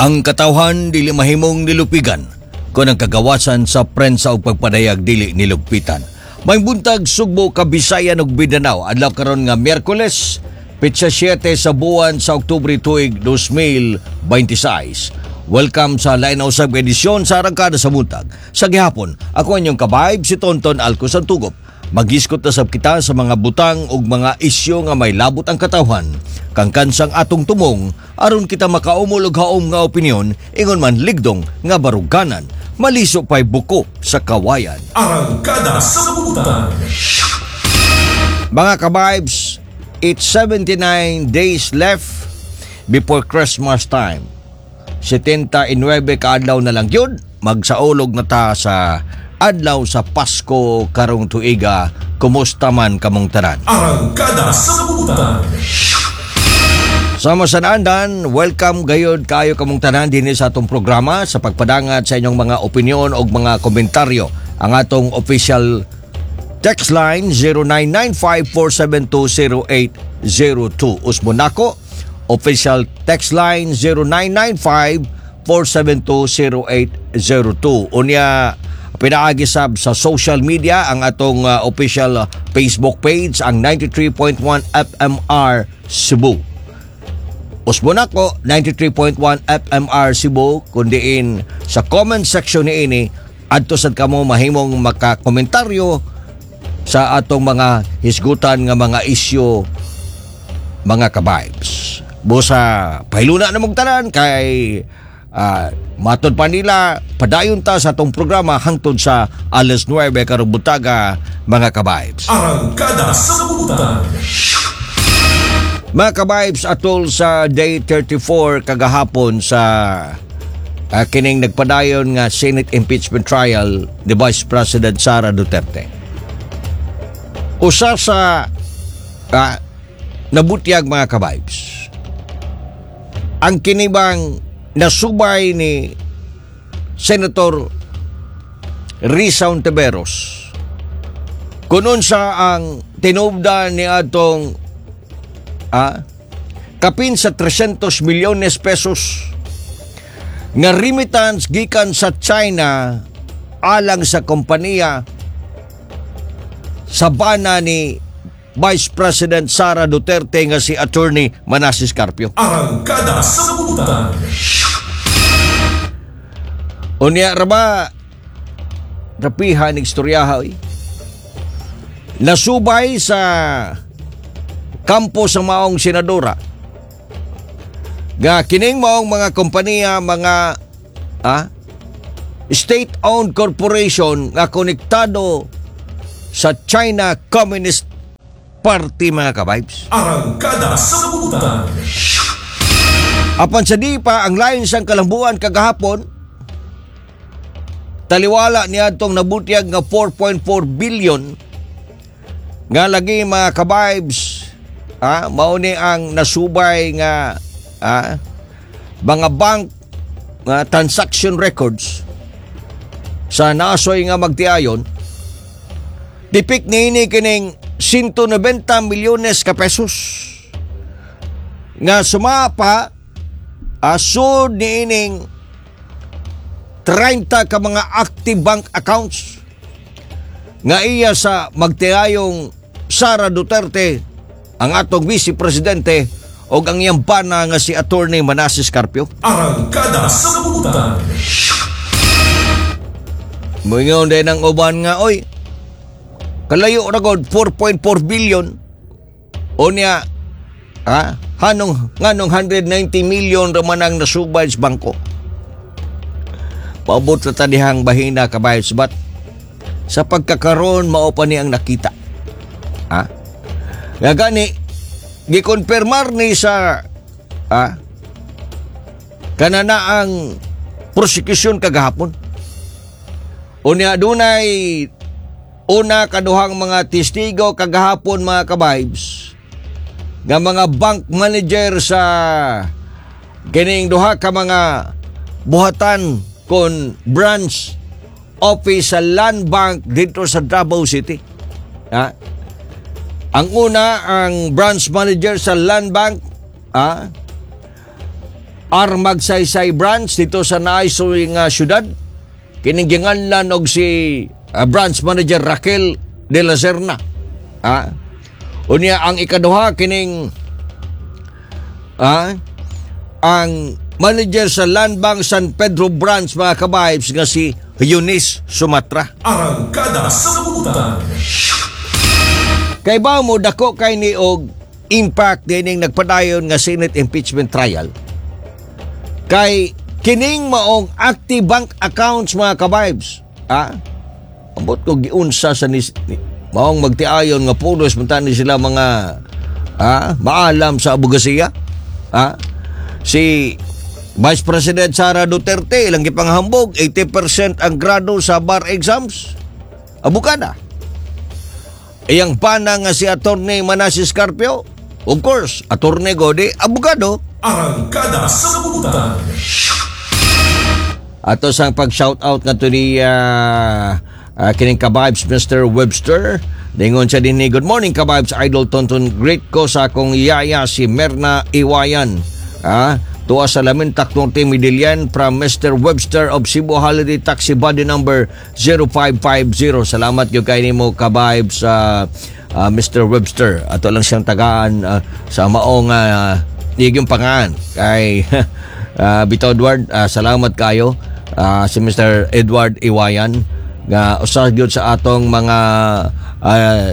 Ang katawhan dili mahimong nilupigan kung ang kagawasan sa prensa ug pagpadayag dili nilugpitan. May buntag, Sugbo, Kabisayan ug Mindanao. Adlaw karon nga Miyerkules, petsa 7 sa buwan sa Oktubre, tuig 2026. Welcome sa lain na usab nga edisyon sa Arangkada sa Buntag. Sa gihapon, ako inyong ka-vibe, si Tonton Alco Santugop. Maghisgot na sab kita sa mga butang ug mga isyu nga may labot ang katawhan. Kangkansang atong tumong aron kita makaumol og haom nga opinyon, ingon man ligdong nga baruganan. Maliso pa'y buko sa kawayan. Arangkada sa Buntag. Mga ka-vibes, it's 79 days left before Christmas time. 79 kaadlaw na lang yun, magsaulog na ta sa adlaw sa Pasko karong tuiga. Kumusta man kamong tanan? Arangkada sa Buntag. Sama sa naandan, welcome gayod kayo kamong tanan dinhi sa atong programa sa pagpadangat sa inyong mga opinyon o mga komentaryo. Ang atong official text line, 0995-472-0802. Usbon nako, official text line, 0995-472-0802. Unya, pinaagi sab sa social media, ang atong official Facebook page, ang 93.1 FMR Cebu. Usbon ako, 93.1 FMR Cebu, kundiin sa comment section niini adto sad kamo mahimong makakomentaryo sa atong mga hisgutan nga mga isyu, mga ka-vibes. Busa pahiluna na mong tanan kay matod pa nila, padayon ta sa atong programa hangtod sa alas 9 karong buntaga, mga ka-vibes. Arangkada sa Buntag. Mga ka-vibes, atol sa day 34 kagahapon sa kining nagpadayon nga Senate impeachment trial ni Vice President Sara Duterte. Usa sa nabutyag, mga ka-vibes, ang kinibang nasubay ni Senator Risa Hontiveros kung unsa ang tinubdan ni atong kapin sa 300 milyones pesos nga remittance gikan sa China alang sa kompanya sa bana ni Vice President Sara Duterte nga si Attorney Manases Carpio. Arangkada sa Buntag. Unya ra ba rapihan ng istoryaha, oy. Nasubay sa kampo sa maong senadora nga kining maong mga kompanya, mga state-owned corporation nga konektado sa China Communist Party, mga ka-vibes. Arangkada sa Buntag. Apan sa di pa, ang lain sang kalambuan kagahapon, taliwala niya atong nabutyag nga 4.4 billion nga lagi, mga ka-vibes, mao ni ang nasubay nga mga bank nga transaction records sa nasoy nga magtiayon, tipik niini kining 190 milyones ka pesos nga sumapa asud niining 30 ka mga active bank accounts nga iya sa magtiayong Sara Duterte, ang atong vice presidente, o ang iyang bana nga si Attorney Manases Carpio. Arangkada sa Buntag. Moingon din ang uban nga, oy, kalayo ra gud 4.4 billion. Unya, hanong nganong 190 million ra man ang nasubay sa bangko? Paabot na ta dihang bahina, ka-vibes, but sa pagkakaroon mao pa ni ang nakita. Ha? Nga gani gikonfirmar ni sa kanana ang prosecution kagahapon. Unya dunay una kaduhang mga testigo kagahapon, mga ka-vibes, nga mga bank manager sa kining duha ka mga buhatan kon branch office sa Land Bank dito sa Davao City. Ha? Ang una, ang branch manager sa Land Bank, R. Magsaysay Branch dito sa Naaysoy nga syudad. Kining ginganlan og si branch manager Raquel de la Serna. Ah. Unya ang ikaduha, kining ang manager sa Landbank San Pedro Branch, mga kabibes, nga si Eunice Sumatra. Arangkada sa Butan. Kay ba mo dako kay ni og impact dining nagpadayon nga Senate impeachment trial? Kay kining maong active bank accounts, mga kabibes. Ah? Ambot ko giunsa sa ni maong magtiayon nga pulos man ni sila mga maalam sa abogasiya. Ah? Si Vice President Sara Duterte, ilang gipanghambog 80% ang grado sa bar exams. Abogada. Iyang pana nga si Attorney Manasis Carpio, of course, attorney godi, abogado. Arangkada sa Butan. Ato sang pag-shout out nga to ni kining kabibes Mr. Webster. Ningon siya din ni, "Good morning, kabibes Idol Tonton. Great ko sa akong yaya si Merna Iwayan. Tuwa sa Lamintak Norte, Medellin, from Mr. Webster of Cebu Holiday Taxi body number 0550." Salamat gyud kay nimo, kabibes Mr. Webster. Ato lang siyang tagaan sa maong iyang pangaan kay Bito Edward, salamat kayo si Mr. Edward Iwayan nga usa gyud sa atong mga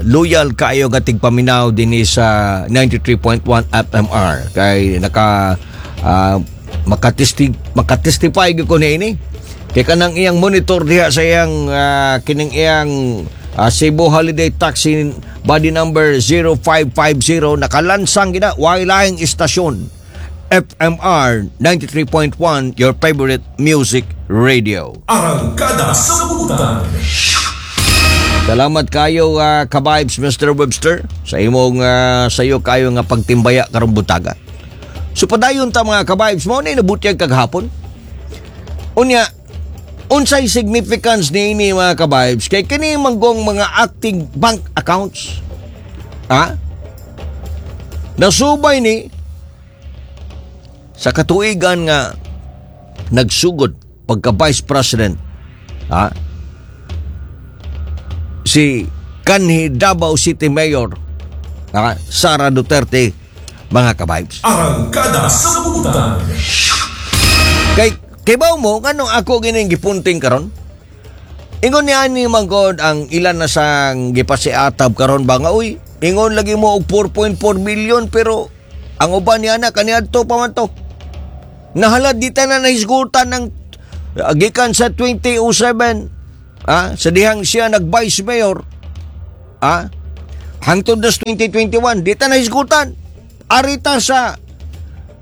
loyal kayo nga tigpaminaw dinhi sa 93.1 FMR kay naka makatestify gyud ko niini kay kanang iyang monitor diha sa iyang kining iyang Cebu Holiday Taxi body number 0550, nakalansang gina way laing istasyon, FMR 93.1, your favorite music radio. Arangkada sa Butan. Salamat kayo, kabibes Mr. Webster, sa imong sayo kayo nga pagtimbaya karong butaga. So padayon ta, mga kabibes, mao ni nabutyag kagahapon. Unya unsay significance niini, mga kabibes, kay kini manggong mga active bank accounts? Ha? Nasubay ni sa katuigan nga nagsugod pagka Vice President ha si kanhi Davao City Mayor Sara Duterte, mga kabibes. Arangkada sa Butan. Kay kibaw mo nganong ako gining gipunting karon? Ingon ni ani manggod ang ilan na sang gipasiatab karon ba nga, "Uy, ingon lagi mo og 4.4 billion, pero ang uban niya na kaniadto pa man to. Nahalad di tanan nahisgutan ng gikan sa 2007 sa dihang siya nag vice mayor hangtod sa 2021, di ta nahisgutan. Arita sa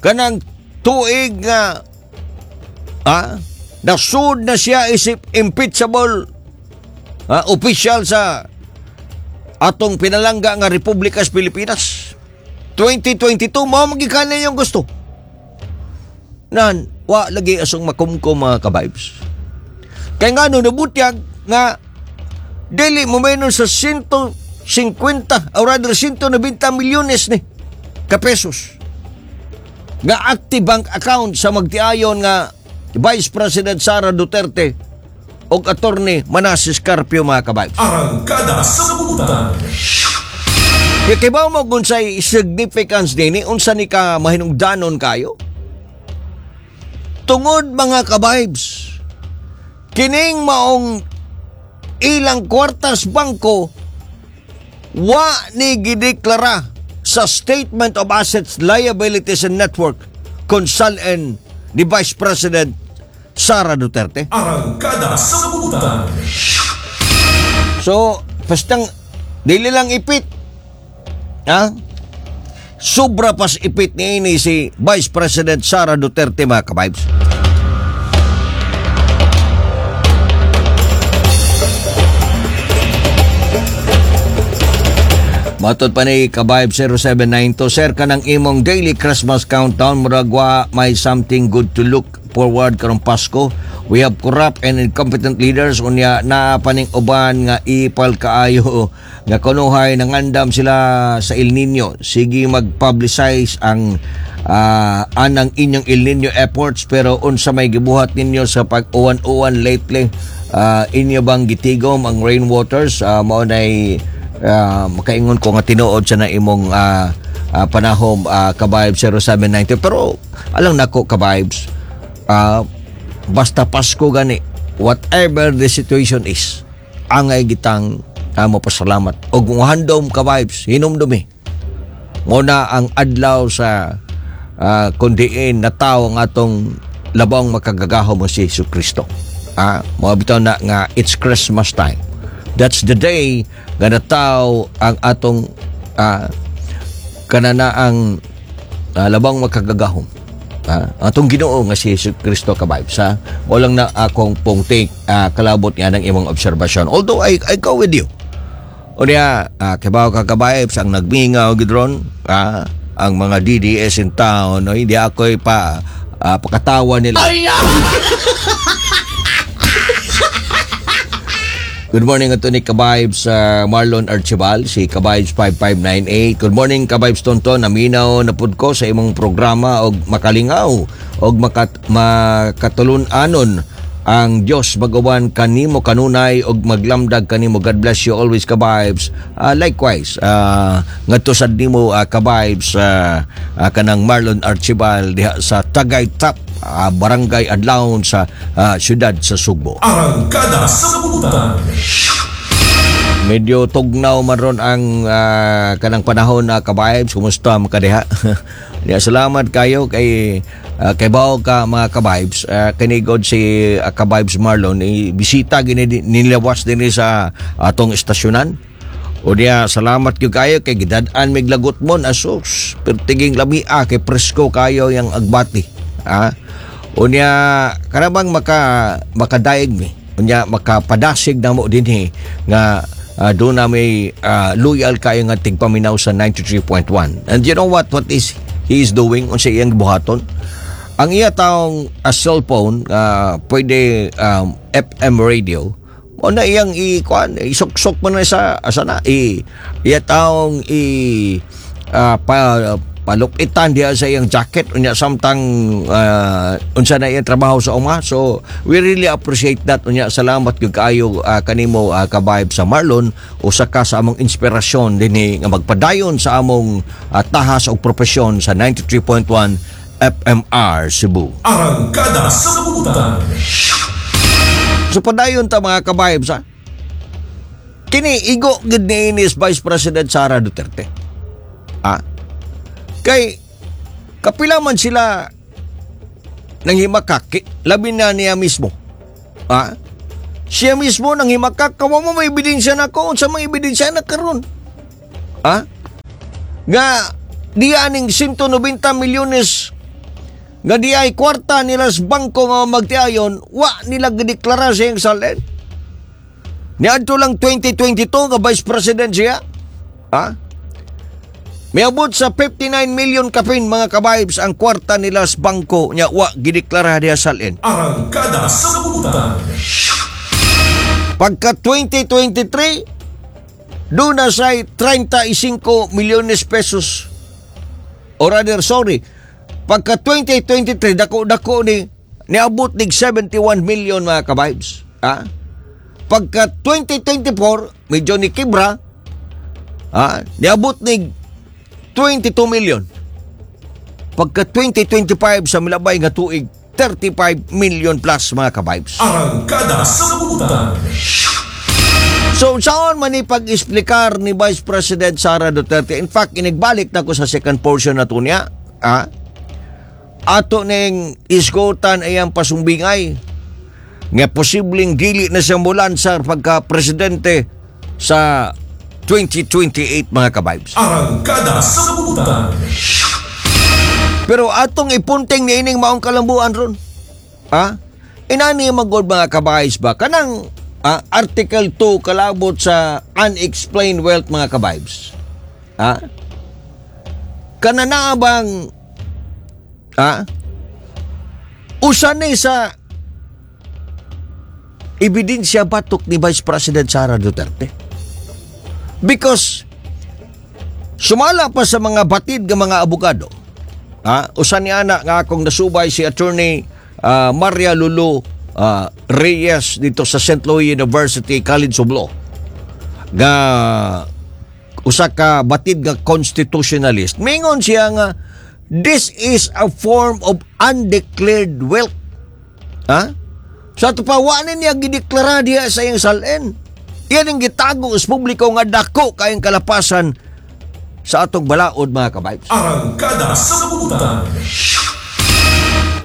kanang tuig nga nasud na siya isip impeachable official sa atong pinalangga nga Republika sa Pilipinas 2022, mao magikan yung gusto nan wa lagi asong makumkum, mga kabibes." Kay nga no nabutyag nga dili mo menos sa 150 or rather 190 milyones ni ka pesos nga active bank account sa magtiayon nga Vice President Sara Duterte og Attorney Manasis Carpio, mga kabibes. Arangkada sa Butan. Kaya kay ba mo kung unsay significance nini, unsa ni ka mahinungdanon kayo? Tungod, mga kabibes, kining maong ilang kwartas bangko wa ni gideklara sa Statement of Assets, Liabilities and Net Worth kung SALN ni Vice President Sara Duterte. Arangkada sa Butan. So, bastang dili lang ipit. Ha? Sobra pas ipit ni ini si Vice President Sara Duterte, mga kabibes. Matod pa ni Kabayb 0792, "Sir, kanang imong daily Christmas countdown murag wa may something good to look forward karong Pasko. We have corrupt and incompetent leaders, unya naa pa ning uban nga ipal kaayo nga kunuhay nangandam sila sa El Nino. Sige mag-publicize ang anang inyong El Nino efforts, pero unsa may gibuhat ninyo sa pag-uwan-uwan lately? Inyo bang gitigom ang rainwaters? Mao nay makaingon ko nga tinuod sa na imong panahom, ka-Vibe 0790. Pero alang nako, ka-Vibes, basta Pasko gani, whatever the situation is, angay gitang mo pasalamat og handom, ka-Vibes, hinumdumi mo na ang adlaw sa kundiin na tao ang atong labong makagagahom mo si Hesus Kristo. Mo bitaw na nga it's Christmas time. That's the day nga nataw ang atong kanana ang labong makagagahom. Atong Ginoo nga si Hesus Kristo, ka-Vibes, ha. Mo lang na akong pong take kalabot nga ng imong obserbasyon. Although I go with you. Unya, kibaw ka, ka-Vibes, ang nagmingaw gid ron, ang mga DDS in town, no, hindi ako pa pakatawa nila. Good morning ato ni ka-Vibes Marlon Archibald, si ka-Vibes 5598. Good morning, ka-Vibes Tonton, naminaw na pud ko sa imong programa og makalingaw og makatulun-anon ang Dios mag-uban kanimo kanunay og maglamdag kanimo. God bless you always, ka-Vibes. Likewise, ngadto sad nimo, ka-Vibes kanang Marlon Archibald diha sa Tagaytap, Barangay Adlaon sa siyudad sa Sugbo. Arangkada sa Butan. Medyo tugnaw man ron ang kanang panahon na, ka-Vibes. Kumusta man ka diha? Ya, salamat kayo kay kay bawo ka, mga ka-Vibes. Kinigod si ka-Vibes Marlon bisita gini nilawas dinhi sa atong estasyonan. O diya, salamat gyud kayo kay gidad-an mig lagot mon asus. Pertiging lamia kay presko kayo yang agbati. Ha? Unya karabang makadaig mi. Unya makapadasig na mo dinhi nga doon na may loyal kayo nga tigpaminaw sa 93.1. And you know what is he is doing unsa iyang buhaton? Ang iya taong a cellphone pwede FM radio mo na iyang i kuan, isuksok mo na sa asa na i iya taong i pa palupitan diha sa iyang jacket, unya samtang unsa na iyang trabaho sa uma. So we really appreciate that. Unya salamat gyud kaayo kanimo, ka-Vibe sa Marlon, usa ka sa among inspirasyon dinhi nga magpadayon sa among tahas og propesyon sa 93.1 FMR Cebu. Arangkada sa Butan. So padayon ta, mga ka-Vibes, ha. Kini igo gid ni inis Vice President Sara Duterte. Ah. Kay kapila man sila nang himakak, labi na niya mismo. Ah? Siya mismo nang himakak, kawa mo may ebidensya na ko, unsa may ebidensya na karon? Ah? Nga diya ning 190 milyones nga di ay kwarta nila sa bangko nga magtiayon, wa nila gideklara sa iyang SALN. Niadto lang 2022 nga Vice President siya. Ha? Miabot sa 59 million kapin, mga ka-Vibes, ang kwarta nila sa bangko nya wa gideklara diha sa SALN. Arangkada sa Butan. Pagka 2023, doon na say 35 milyones pesos. Or rather, sorry, pagka 2023, dako-dako ni, niabot nig 71 million, mga ka-Vibes. Ha? Pagka 2024, medyo ni kibra, ha? Niabot nig 22 million. Pagka 2025 sa milabay nga tuig, 35 million plus, mga ka-Vibes. Arangkada sa Butan. So, saan man ipag-explicar ni Vice President Sara Duterte? In fact, inigbalik na ko sa second portion na to niya. Ah, ato ning isgutan ay ang pasumbingay nga posibleng dili na siya mulansar pagka presidente sa 2028, mga ka-Vibes. Arangkada sa Butan. Pero atong ipunting ni ining maong kalambuan ron. Ha? Inani magod, mga ka-Vibes, ba? Kanang Article 2 kalabot sa unexplained wealth, mga ka-Vibes. Ha? Kana na bang Usa ni sa ebidensya batok ni Vice President Sara Duterte. Because sumala pa sa mga batid nga mga abogado, ha, usa ni ana nga akong nasubay, si Attorney Maria Lulu Reyes dito sa St. Louis University College of Law, nga usa ka batid nga constitutionalist. Mingon siya nga this is a form of undeclared wealth. Ha? Sa ato pa, wa ni niya gideklara diha sa iyang SALN. Yan ang gitago sa publiko nga dako kayong kalapasan sa atong balaod, mga ka-vibes. Arangkada sa Butan.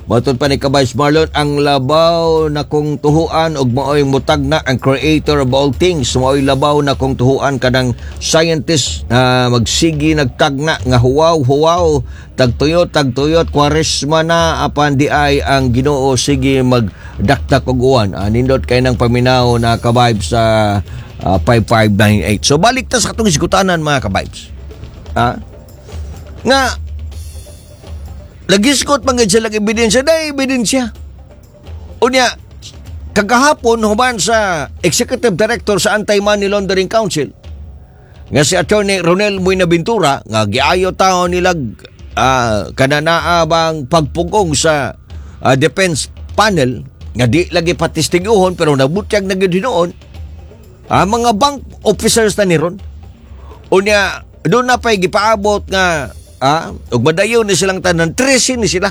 Matod pa ni ka-vibes Marlon, ang labaw na kong tuhuan og maoy mutagna ang creator of all things, maoy labaw na kong tuhuan kanang scientist na magsigi nagtagna nga huwaw huwaw, tagtuyot tagtuyot, Kwaresma na, apan di ay ang Ginoo sige magdakdak og uwan. Nindot kay nang paminaw na, ka-vibes, sa 5598. So balik ta sa katong iskutanan, mga ka-vibes. Ha? Nga nagisgot man gid sila ebidensya, dahil ebidensya. Unya, kagahapon, human sa Executive Director sa Anti-Money Laundering Council, nga si Attorney Ronel Buenaventura, nga giayo tao nilag kananaa bang pagpugong sa defense panel, nga di lagi patistiguhon pero nabutyag na gyud hinuon, mga bank officers na ni ron. Unya, doon na pa'y gipaabot nga ug madayon ni silang tanan, 13 ni sila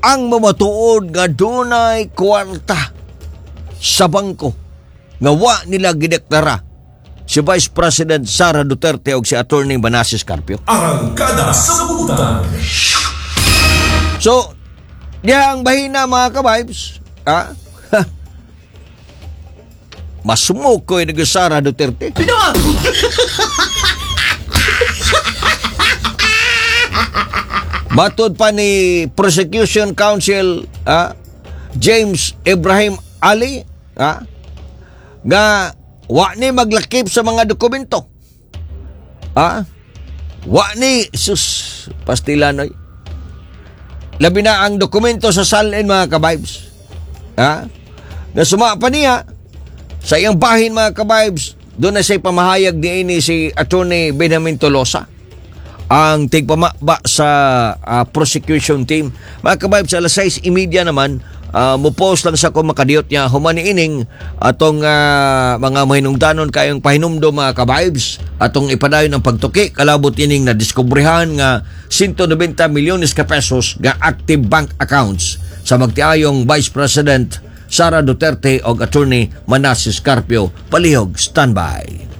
ang mamatuod nga dunay kwarta sa bangko nga wa nila gideklara si Vice President Sara Duterte og si Attorney Manases Carpio. Arangkada sa Butan. So, diya ang bahina, mga ka-vibes, ha? Masumok ko yung Sara Duterte. Matod pa ni Prosecution Counsel James Ibrahim Ali, nga wa ni maglakip sa mga dokumento. Wa ni, sus, pastilanoy. Labi na ang dokumento sa SALN, mga ka-vibes. Ha? Na suma pa niya sa iyang bahin, mga ka-vibes, doon na siya'y pamahayag ni ini si Attorney Benjamin Tolosa, ang tigpamaba sa prosecution team. Mga ka-vibes, alas 6:30 naman, mo-post lang sa kung makadiyot niya humaniining atong mga mahinungdanon kayong pahinumdom, mga ka-vibes, atong ipadayon ang pagtuki kalabot ining na diskubrihan nga 190 milyones ka pesos nga active bank accounts sa magtiayong Vice President Sara Duterte og Attorney Manases Carpio. Palihog standby.